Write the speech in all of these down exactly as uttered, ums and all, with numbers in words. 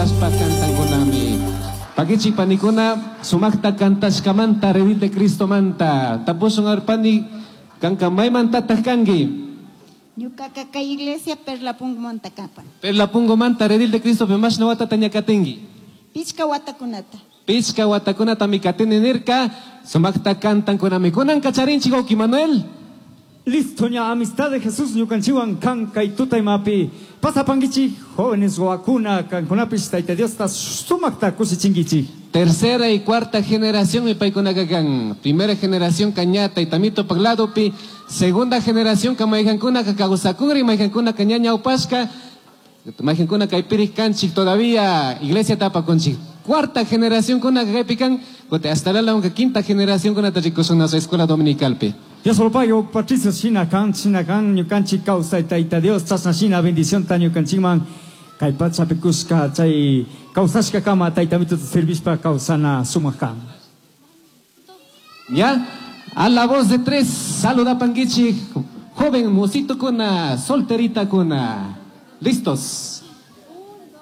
Cantankunami. Pakichi panikuna sumakta kantashkamanta Redil de Cristo manta. Tapusun arpani kanka maymantataq kanki. Ñuqaka kay iglesia Perla Pungumanta kapan. Perla Pungumanta Redil de Cristo mashna watata ña katinki. Pichka watakunata. Pichka watakunata mi katini nirka sumakta kantankunami. Kunan kacharinchik wawki Manuel. Listo ña amistad de Jesús ñukanchiwan kan kay tutaymapi pasapankichik jóvenes wawakuna kankunapish Tayta Diosta sumakta kushichinkichik. Tercera y cuarta generación mi paykunaka kan. Primera generación kaña taytamito pagladopi. Segunda generación ka mayqankunaka kawsakuri mayqankunaka ña ñawpashka. Mayqankuna kaypirik kanchik todavía iglesia tapakunchik. Cuarta generación kuna kaypi kan. Hasta la quinta generación kunata rikusun nuestra escuela dominicalpi. Dios lo pague, Patricio shina kan, shina kan, ñukanchik kawsay Tayta Dios, chashna shina bendición ta ñukanchikman kay pachapi kushka chay kawsashka kama Taytamituta servishpa kawsana sumak kan. Ya, a la voz de tres, saluda pankichik, joven mosito kuna, solterita kuna. Listos.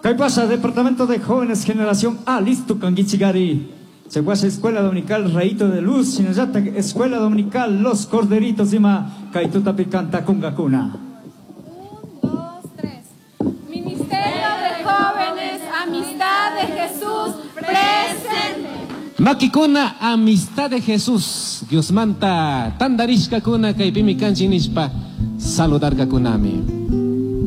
Kay pasa, Departamento de Jóvenes Generación A, listo kankichikari. Chaguasha Escuela Dominical Rayito de Luz, Shinallata Escuela Dominical Los Corderitos ima kay tutapi kantakunkakuna. Un, dos, tres. Ministerio de Jóvenes, Amistad de Jesús, presente. Makikuna, Amistad de Jesús. Dios manta, tandarishkakuna, kaypimi kanchik nishpa, saludarkakunami.